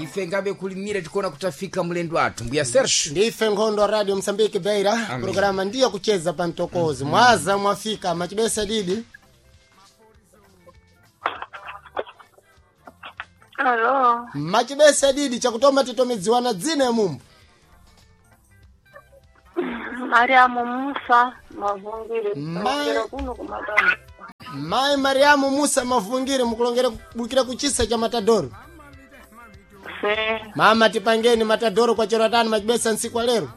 Ife ngabe kulimira tikuona kutafika mlendo athu mbuya Serge. Ndife nkhondo Radio Msambiki Beira. Amen. Programa ndiyo kucheza pa mtokozi. Mwaza mwafika machibesa didi. Alo, Machibesa didi chakutoma titomidziwana dzina ya mumbu. Mariamu Musa Mavungire, Ma- kulongera kuno kumatanda. Mai Mariamu Musa Mavungire mukulongera kubukira kuchisa cha Matadoro. Se, Mama tipangeni Matadoro kwa chero tano machibesa nsiku wa lero.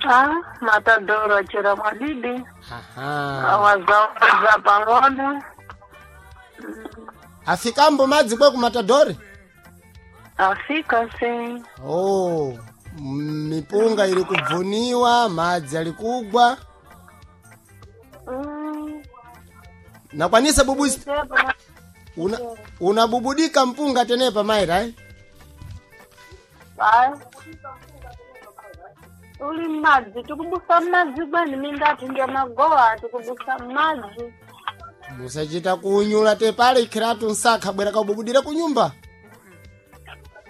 ah, Matadoro achera mwadidi, Aha. awazawaza pang'ono, Afikambo madzi kwe ku Matadori. afika se, Oh, mipunga ili kubvuniwa, madzi ali kugwa. Nakwanisa bubuzi Sepa, una, unabubudika mpunga tenepa maira eh? Ai. Uli madzi, tikubusa madzi bweni mindati ndia magowa, tikubusa madzi. Musachita kunyula tepale ikhiratu nsakha bwera kaububudira kunyumba.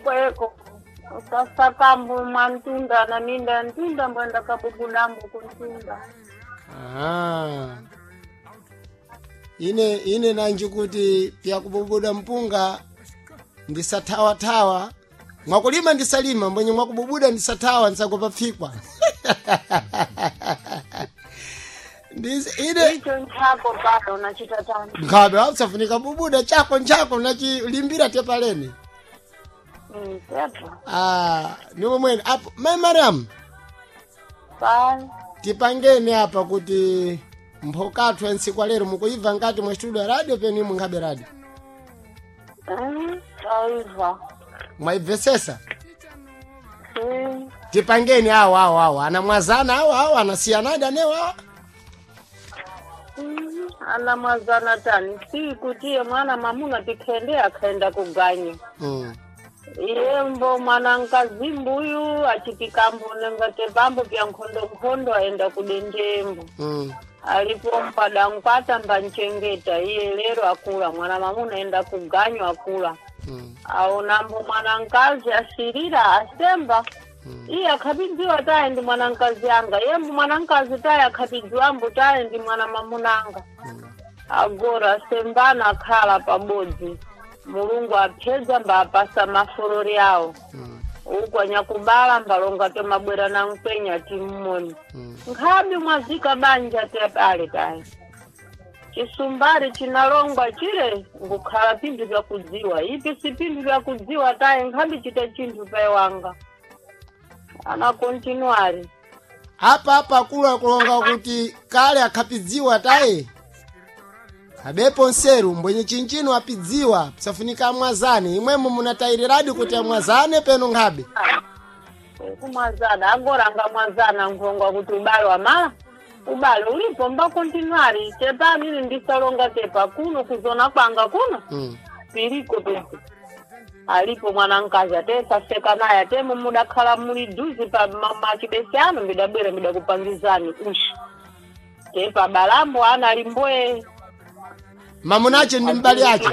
Kweko, usasakambu mwa mtunda na minda ya mtunda mbwenda kabubudambu kuntunda. Aha. Ine nanji kuti pyakububuda mpunga ndisathawathawa mwakulima ndisalima mbwenye mwakububuda ndisathawa ndisagopa pfikwa. Ine Icho nchako pano unachita tani. nkhabe wakusafunika bubuda chako nchako nachilimbira tepaleni. Sepa. Ah, niwo mwene apo mai Mariam Bye. tipangeni apa kuti mphokathu ya ntsiku lero mukuibva ngati mwa studio ya radio peni imwe nkhabe radio. Taiva. Mwaibvesesa? Tipangeni awo awo awo anamwazana awo awo anasiyanadi anewo awo. Ana mwazana tani si kutiye mwana mamuna tikhende akhenda kuganya. Iye mbo mwana nkazimbuyu achitikambo nengate pambo pya nkhondo nkhondo aenda kudendembo. Alipo mpada nkwata mbanchengeta iye lero akula mwana mamuna aenda kuganywa akula. Aonambo mwana nkazi asirira asemba. Iye akhapidziwa taye ndi mwana nkazi anga yembo mwana nkazi taye akhapidziwambo taye ndi mwana mamunanga. Agora sembana akhala pabodzi mulungu aphedza mbapasa mafolori awo. Uku anyakubala mbalonga tomabwera na mkwenya timmoni. Nkhabe mwazika banja tepale taye chisumbali chinalongwa chile ngukhala pinthu vyakudziwa ipi si pinthu vyakudziwa taye nkhabe chita chinthu paye wanga ana kontinuari. Apa apa akulu akulonga kuti kale akhapidziwa taye abepo nseru mbwenye chinchino apidziwa psafunika amwazane imwemo munatayiriraди kuti amwazane peno nkhabe. Kumwazana agora angamwazana nkhongwa kuti ubale wamala ubale ulipo mba kontinuari tepa amene ndisalonga tepa kuno kuzona kwanga kuno. Piliko pepe alipo mwana mkazi atesaseka naye atemo mudakhala muli duzi pa machibesi ano midabwera midakupangizani ushi tepa balambo ana alimboye. Mamunache ndi mbali yache.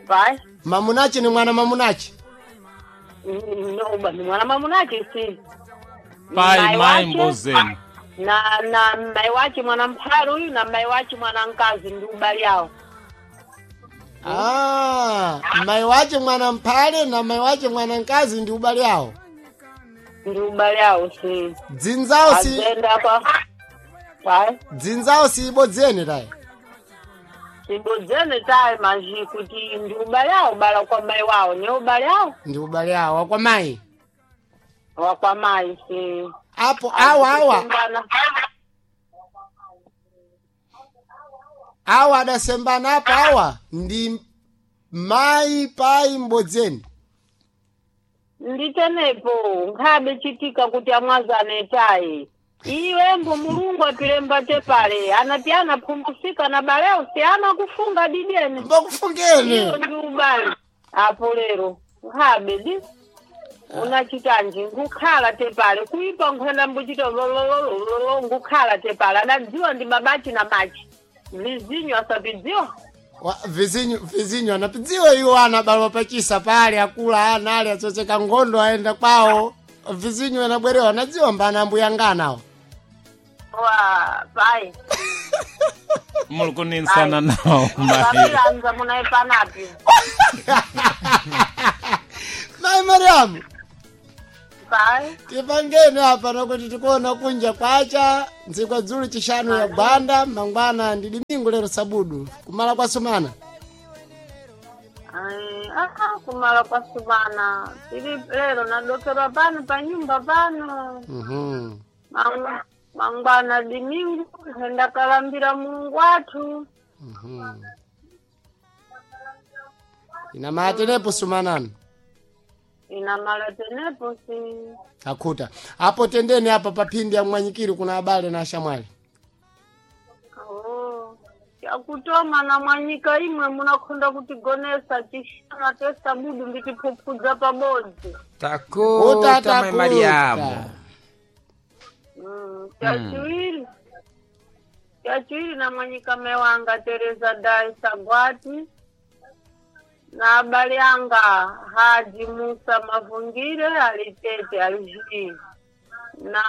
Vai. Mamunache ni mwana mamunache. No, ni mwana mamunache si Pai Mai mai wache, mbozeni. na mai wache mwana mphale uyu na mai wache mwana mkazi ndi ubali awo. Ah, mai wache mwana mphale na mai wache mwana mkazi ndi ubale awo. Ndi ubali awo si. Dzinzawo si Azenda kwa vai. dzinzawo si ibodzene tayi. Sibodzene tayi manji kuti ndi ubale awo bala kwa mai wawo ne ubale awo. Ndi ubale awo kwa mai. Wa kwa mai si. Apo awa awa Azikumbana. awa adasembana apo awa ndi mai pai mbodzeni. Nditenepo nkhabe chitika kuti amwazane tayi iwembo mulungu apilemba tepale anati anaphumbusika na baleo si ana kufunga didene. Mbakufungene. Iyo ndi ubale apo lero nkhabe di unachitanji nkukhala tepale kuipa nkhwenda mbuchita lololololo nkukhala tepale adadziwa ndi babachi na machi vizinyo asapidziwa. Vizinyo anapidziwa iwo ana balwa pachisa pale akula ana ali atsotseka ngondo aenda kwawo. Vizinyo anabwerewa anadziwa mbana ambuyanganawo. Wa pai. Muli kuninsana nawo mai. Vapilanza munaipanapi. Mai Mariamu, Pai. tipangeni apa nokuti tikuona kunja kwacha ntsiku dzulu chishanu ya gwanda mangwana ndi dimingu lero sabudu kumala kwa sumana. Ai, ah, kumala kwa sumana. Tili lero nadokerwa pano pa nyumba pano. Mangwana dimingu henda kalambira Mulungu wathu. Inamatenepo sumanani. Inamala tenepo si. Akuta apo tendeni apa paphindi ya mwanyikiri kuna abale na ashamwali. Oh. Yakutoma na mwanyika imwe munakhonda kutigonesa chishana tesa budu nditiphuphuza pabodzi. Takuta mai Mariamu. Chachiwiri. Chachiwiri na mwanyika mewanga Teresa Dai Sagwati na abale anga Haji Musa Mavungire alitete alijii na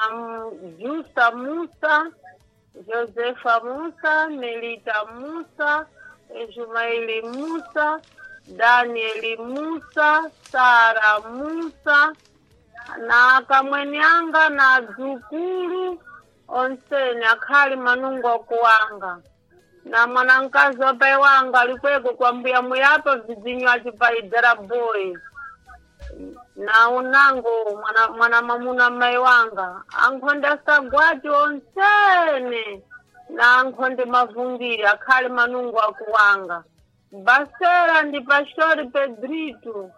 Jusa Musa, Josefa Musa, Melita Musa, Jumaili Musa, Danieli Musa, Sara Musa na kamweni anga na dzukulu onseni akhali manungo okuwanga na mwanankazi wapai wanga alikweko kwa mbuya muyapa vizinyo achipaidera boy na unango mwana mamuna mai wanga ankhonde asagwati onsene na ankhonde mavungiri akhali manungo akuwanga basera ndi pashori pedritu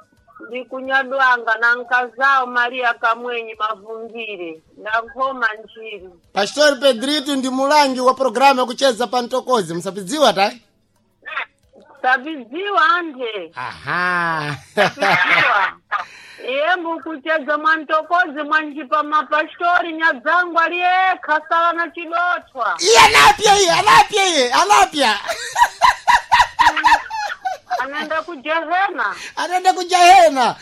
ndi kunyadwanga na nkazao maria kamwenyi mavungire ndankhoma njiri. Pastor Pedrito ndi mulangi wa programu yakucheza pa mtokozi msapidziwa ta? Sabidziwa anje. Aha. Sabidziwa. Iye mbukucheza mwantokozi mwanjipa mapashtori nyadzangu aliyekha sala na chidotwa. Iye anapya iye anapya iye anapya. Anaenda kujehena. Anaenda kujahena.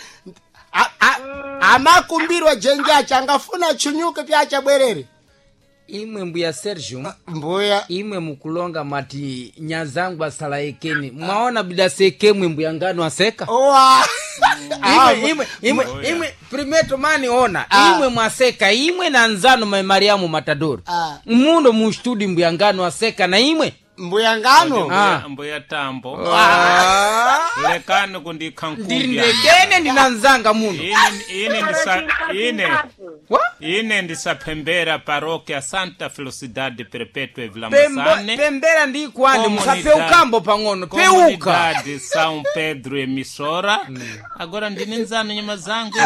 Amakumbirwa jenja angafuna chunyuke pyacha bwerere. Imwe mbuya Sergio. Mbuya. Imwe mukulonga mati nyazangu asalaekeni. Mwaona bidasekemwe mbuya ngano aseka. Owa. Imwe primeto mani ona. Imwe mwaseka imwe na nzano mai Mariamu Matadoro. Muno mu studio mbuya ngano aseka na imwe. Mbuya ngano. Mbuya tambo. Lekani kundikha nkubya. Ndilekene ndinanzanga muno. Ine ndisaphembera parokia Santa Felicidade Perpetua Vila Musane. Pembera ndi kwani musapeukambo pang'ono peuka. Comunidade São Pedro emissora. Agora ndine nzano nyama zangu.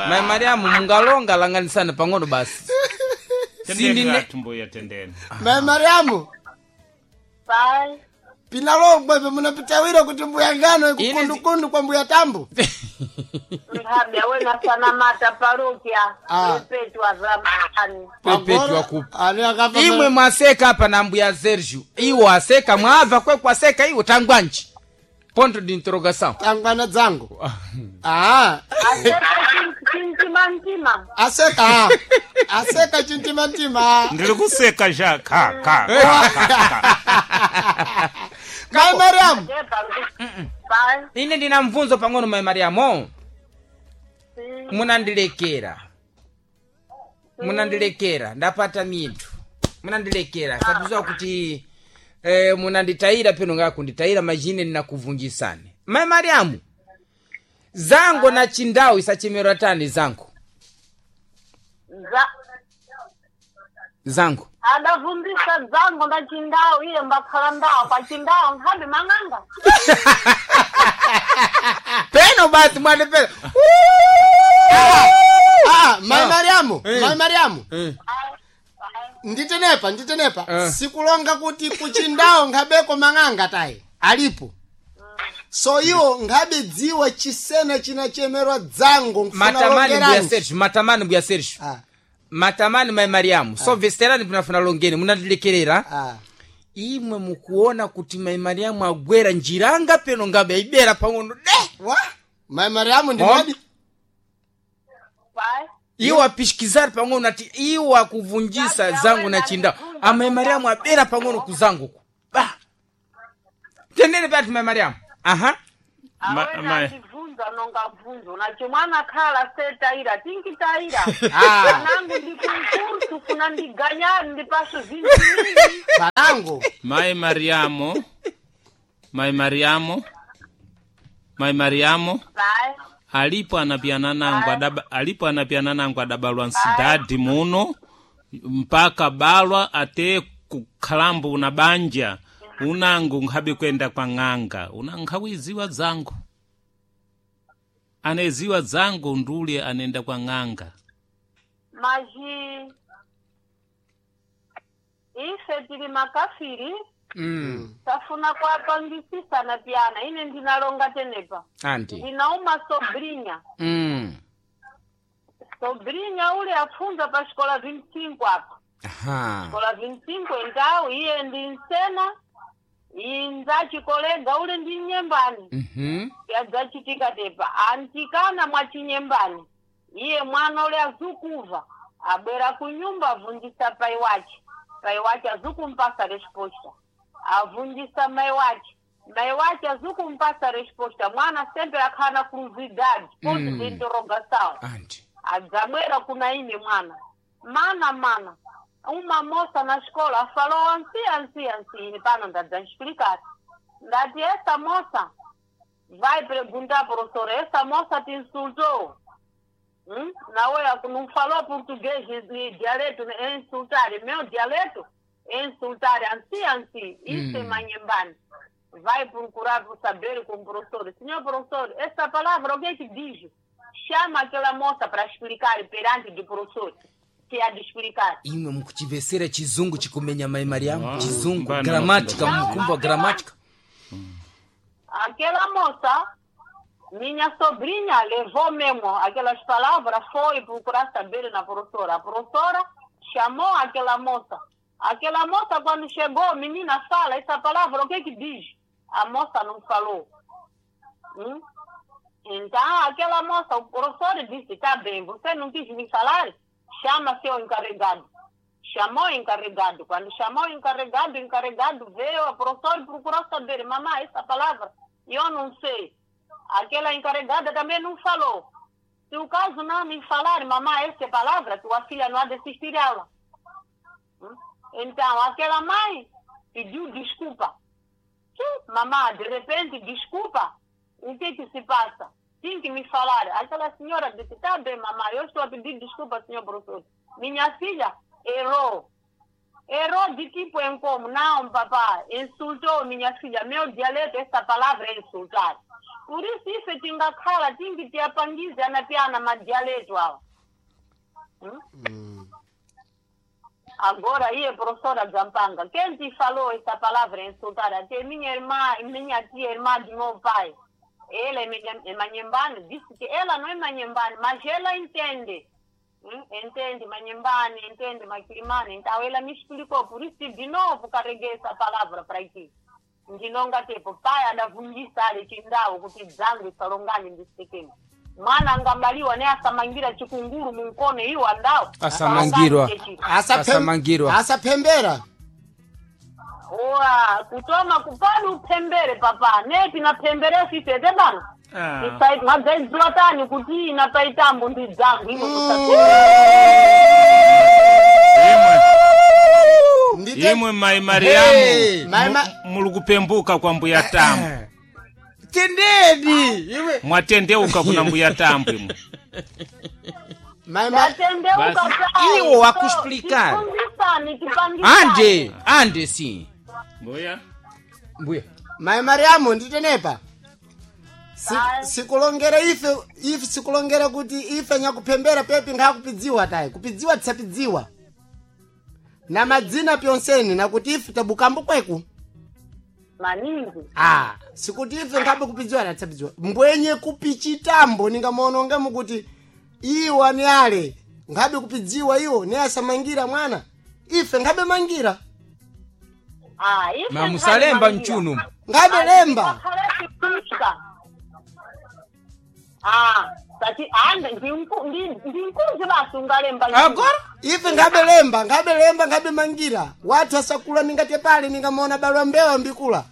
Mai Mariamu mungalonga langanisana pang'ono basi. Tendeni mbuya tendeni. Mai Mariamu. Pai. Pinalongwe munapitawira kuti mbuya ngano ikukundukundu kwa mbuya tambo. Mhabya wena sana mata parokia. Perpetua zamani. Perpetua kupa. Imwe mwaseka hapa na mbuya Sergio. Iwo aseka mwabva kwe kwaseka iwo tangwanji. Ponto de interrogação. Tangwana dzangu. Aseka chintimantima. Aseka. Aseka chintimantima. Ndiri kuseka ja ka ka. Mai Mariamu. Ine ndina mvunzo pang'ono Mai Mariamu. Munandilekera. Munandilekera ndapata minthu. Munandilekera satiziwa kuti munanditayira peno ngakunditayira majine ninakuvunjisani. Mai Mariamu. Zango na chindau isachemerwa tani zango. Zango. Adavumbisa zango na chindau iye mbakhala ndao kwa chindau nkhabe mang'anga. Peno basi mwana peno. Mai Mariamu, Mai Mariamu. Nditenepa. Sikulonga kuti kuchindao nkhabeko mang'anga tayi. Alipo. So iwo nkhabe dziwa chisena chinachemerwa dzango matamani mbuya Sergio, matamani mbuya Sergio. Matamani Mai Mariamu. So vesterani pinafuna longeni munandilekerera. Imwe mukuona kuti mai Mariamu agwera njiranga peno ngabe aibera pang'ono de. Wa mai Mariamu ndinadi. Pai. Iwo apishikizari pang'ono ati iwo akuvunjisa zangu na chindao. Amai Mariamu abera pang'ono kuzanguku. Ba. Tendere pati mai Mariamu. Aha. Awena atibvunza nonga bvunzo nacho mwana khala setaira tinkitaira. Ah. Nangu ndikunkursu kuna ndiganyari ndipaso zinthu mingi. Panango. Mai Mariamu, mai Mariamu, mai Mariamu. Pai. Alipo anapiana nangu adaba, alipo anapiana nangu adabalwa nsidadi muno mpaka balwa ate kukhalambu una banja unangu nkhabe kwenda kwa ng'anga una nkhawiziwa dzangu aneziwa dzangu ndule anenda kwa ng'anga. Maji ife tili makafiri. Tafuna kwapangisisana pyana ine ndinalonga tenepa. Anti. Ndinauma sobrinya. Sobrinya ule afunza pa xikola 25 apa. Aha. Xikola 25 entau iye ndi nsena inza chikolega ule ndi nyembani. Yadzachitika tepa antikana mwa chinyembani iye mwana ule azukuva abwera kunyumba avunjisa pai wache. Pai wache azukumpasa resposta, avunjisa mai wache, mai wache azukumpasa resposta. Mwana sempre akhala na curiosidade, ponto de interrogação. Anti. Adzabwera kuna ine mwana, mana mana uma moça na escola falou ansi ansi ansi. Ine pano ndadzanexplicar, ndati essa moça vai perguntar professora, essa moça te insultou. Nawe não falou português ni dialeto é insultar meu dialeto é insultar ansi ansi. Isso é manhembani. Vai procurar saber com o professor. Senhor professor, essa palavra o que é que diz? Chama aquela moça para explicar perante do professor que há de explicar. Imwe mukuchivesera chizungu chikumenya mai Mariamu. Ah, chizungu mbana gramática mafunda. mukumva gramática. Aquela moça, minha sobrinha, levou mesmo aquelas palavras, foi procurar saber na professora. A professora chamou aquela moça. Aquela moça, quando chegou, menina, fala essa palavra, o que é que diz? A moça não falou. Então, aquela moça, o professor disse, tá bem, você não quis me falar? Chama seu encarregado. Chamou o encarregado. Quando chamou o encarregado veio, a professora procurou saber, mamãe, essa palavra, eu não sei. Aquela encarregada também não falou. Se o caso não me falar, mamãe, essa palavra, tua filha não há de assistir aula. Então, aquela mãe pediu desculpa. Mamãe, de repente, desculpa, o que que se passa? Tem que me falar. Aquela senhora disse, tá bem, mamãe, eu estou a pedir desculpa, senhor professor. Minha filha errou. Errou de tipo em como? Não, papai, insultou minha filha. Meu dialeto, essa palavra é insultar. Por isso, isso tingakhala, tingi tiapangiza na piana ma dialeto awa. Agora aí, professora Zampanga, quem te falou essa palavra insultar? Até minha irmã, minha tia, irmã de meu pai. Ela é manhembane, disse que ela não é manhembane, mas ela entende. Entende manhembane, entende maquirimane. Então ela me explicou, por isso de novo carreguei essa palavra para aqui. Ndinonga tepo, pai adavungisa ali chindao kuti dzangu isalongane ndisikini. Mwana angabaliwa ne asamangira chikunguru munkono iwo andao. Asamangirwa. Asamangirwa. Asapembera. Oa, kutoma kupani upembere papa. Nepi na pembere sisi ete bana. Ah. Isai madzaidzwa tani kuti ina paitambo ndi dzangu ino Ndite Imwe mai Mariamu. Hey. Mai Ma- Muli kupembuka kwa mbuya Tambo. Tendeni. Imwe. Mwatendeuka kuna mbuya Tambo imwe. mai Ma- Tatendeuka Basi. pai. Iwo wakuexplicar. Tifungisane, tipangisane. Ande, ande sim. Mbuya. Mbuya. Mai Mariamu nditenepa. Ai. Sikulongera ife ife sikulongera kuti ife nyakupembera pepi nkhakupidziwa tayi kupidziwa tisapidziwa na madzina pyonseni nakuti ife tabukambo kweku. Maningi. Ah, sikuti ife nkhabe kupidziwa na tisapidziwa mbwenye kupichitambo ningamuononge mukuti iwo ni ale nkhabe kupidziwa iwo ne asamangira mwana ife nkhabe mangira. Ah, ife Ma musalemba nkhali mchunu. Ngabe lemba. Akhalekuika. Ah, tati ande ndinkuzi basi ungalemba Agora Ife ngabe lemba, ngabe lemba, ngabe mangira. Watu asakula ningate pale ningamona balwa mbewa mbikula.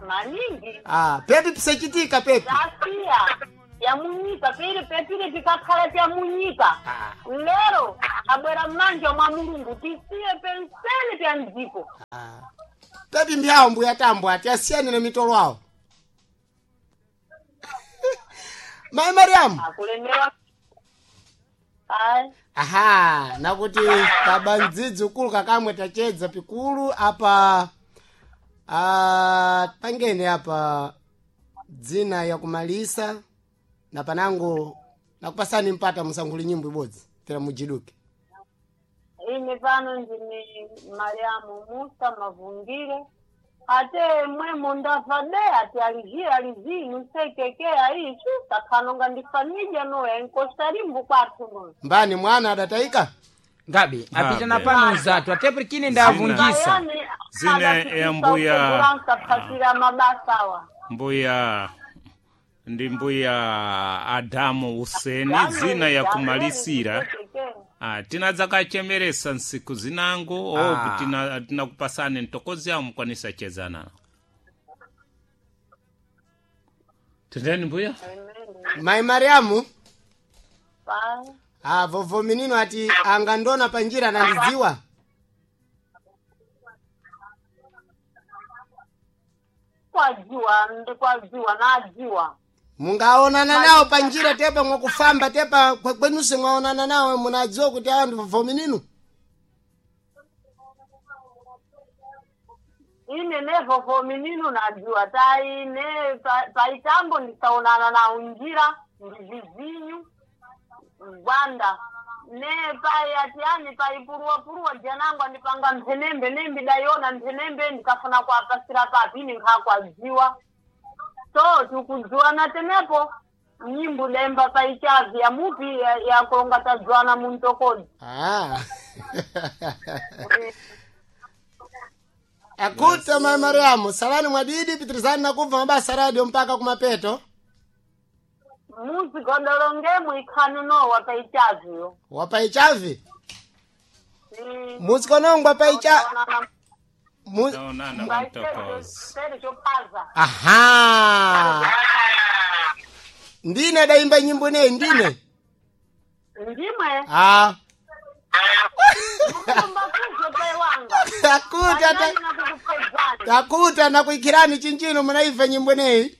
Maningi. Ah, pepi pisachitika pepi. Asiya yamunyika pili pepili pikakhala pyamunyika lero abwera mmanja mwa Mulungu tisiye penseli pya mdziko. Ah. Pepi mbyawo mbuya tambo ati asiyane na mitolo awo. Mai Mariamu. Akulemerwa ayi. Aha, nakuti kabandzidzi ukulu kakamwe tachedza pikulu apa pangene apa dzina yakumalisa na panango nakupasani mpata musankhuli nyimbo ibodzi tera mujiduke. Ine pano ndine Mariamu Musa Mavungire ate mwemo ndava de ati alizii alizii nusekekea ichu takhanonga ndifanija noya enkostarimbu kwathu noyo. Mbani mwana adatayika? Ngabe apita na Ngabe. pano nzatu atepurikine ndavungisa. Zine ya mbuya- phasira mabasa awa. Mbuya ndi mbuya Adamu Useni zina ya kumalisira. Ah, tinadzakachemeresa nsiku zinango Ah. obu tinakupasani ntokozi awo mukwanisa chezana. Tendeni mbuya. Mai Mariamu. Pa- Ah, vovo minino ati angandona panjira nandidziwa. Kwadziwa ndikwadziwa nadziwa. Mungaonana nawo panjira tepa mwakufamba tepa kwenuse mwaonana nawo munadziwa kuti awa ndi vovo minino. Ine nevovo minino nadziwa taine paitambo ndisaonana nawo njira ndivizinyu gwanda ne pai ati ani paipuruwapuruwa janangu andipanga mphenembe nembidayona mphenembe ndikafuna kuapasira papi ine nkhakwadziwa so tikudziwana tenepo nyimbo lemba paichavi yamupi yakulonga tadziwana muntokodzi. Ah. Akuta Mai Mariamu, salani mwadidi pitirizani nakubva mabasa radio mpaka kumapeto. Muzigodolongemu ikhanu nowa paichaviyo. Wapaichavi? Muzikonongwa paicha mu... Taonana mtokozi. Sere chophaza. Aha. Ndine daimba nyimbo nei ndine. Ndimwe. Ah. Mukumba kuzo paiwanga. Takuta ta... Takuta nakuikirani chinchino munaiva nyimbo nei.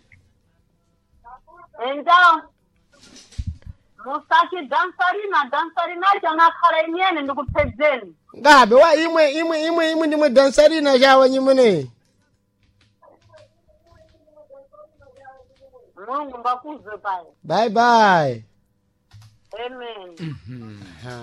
Então, musati dansarina dansarina chanakhala inyene ndikupedzeni. Ngabe wa imwe imwe imwe imwe ndimwe dansarina chawa nyimbo nei. Mulungu mbakuzwe paye. Bye bye. Amen. Aha.